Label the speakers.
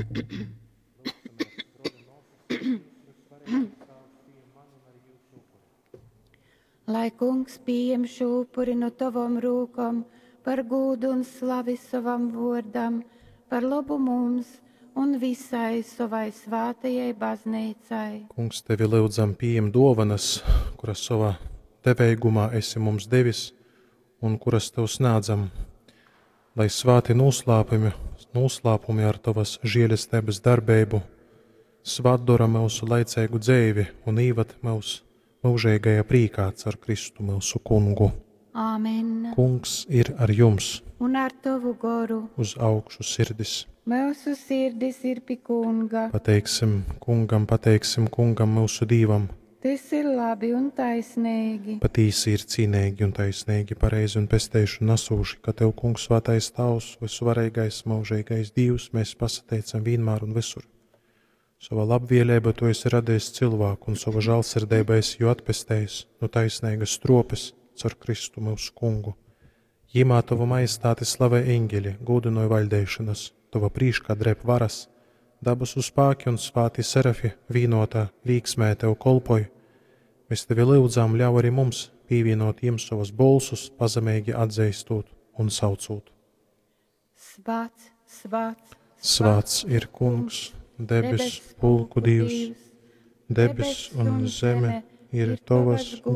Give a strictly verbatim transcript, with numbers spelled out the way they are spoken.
Speaker 1: Lyugsimēs, brōļi un mōsas, lai Dīvs vysuvareigais Tāvs pījem manu un arī jyusu upuri.
Speaker 2: Lai Kungs pījem šū upuri nu tovom rūkom par gūdu un slavi sovam vōrdam, par lobu mums un visai sovai svātajai bazneicai.
Speaker 3: Kungs, tevi lyudzam, pījem dōvanas, kuras sovā deveigumā esi mums devis un kuras tev snādzam, lai svāti nūslāpumi, nūslāpumi ar tovas žēlesteibas darbeibu svātdora myusu laiceigu dzeivi un īvad myus myužeigajā prīkā caur Kristu myusu Kungu.
Speaker 2: Āmen.
Speaker 3: Kungs ir ar jums,
Speaker 2: Un ar tovu goru.
Speaker 3: uz augšu sirdis.
Speaker 2: Myusu sirdis ir pi Kunga.
Speaker 3: Pateiksim Kungam, pateiksim Kungam myusu Dīvam.
Speaker 2: Tys ir labi un taisneigi.
Speaker 3: Patīsi ir cīneigi un taisneigi, pareizi un pesteišonu nasūši, ka Tev, Kungs, Svātais Tāvs, vysuvareigais, myužeigais Dīvs, mēs pasateicam vienmēr un visur. Sova labvēlība Tu esi radījis cilvēku un sova žālsirdība esi jū atpestējis no taisnīgas stropes caur Kristu myusu Kungu. Jimā Tovu majestāti slavē eņģeļi, gūdinoj vaļdeišanas, Tova prīškā dreb varas, dabasu spāki un svāti serafi vīnotā līksmē Tev kolpoj. Mēs Tevi lyudzam, ļauj arī mums pievienot jiem savas bolsus, pazemeigi atzīstot un saucot.
Speaker 2: Svāts, svāts,
Speaker 3: Svāts ir Kungs, debesu pulku Dievs, debess un zeme ir Tavas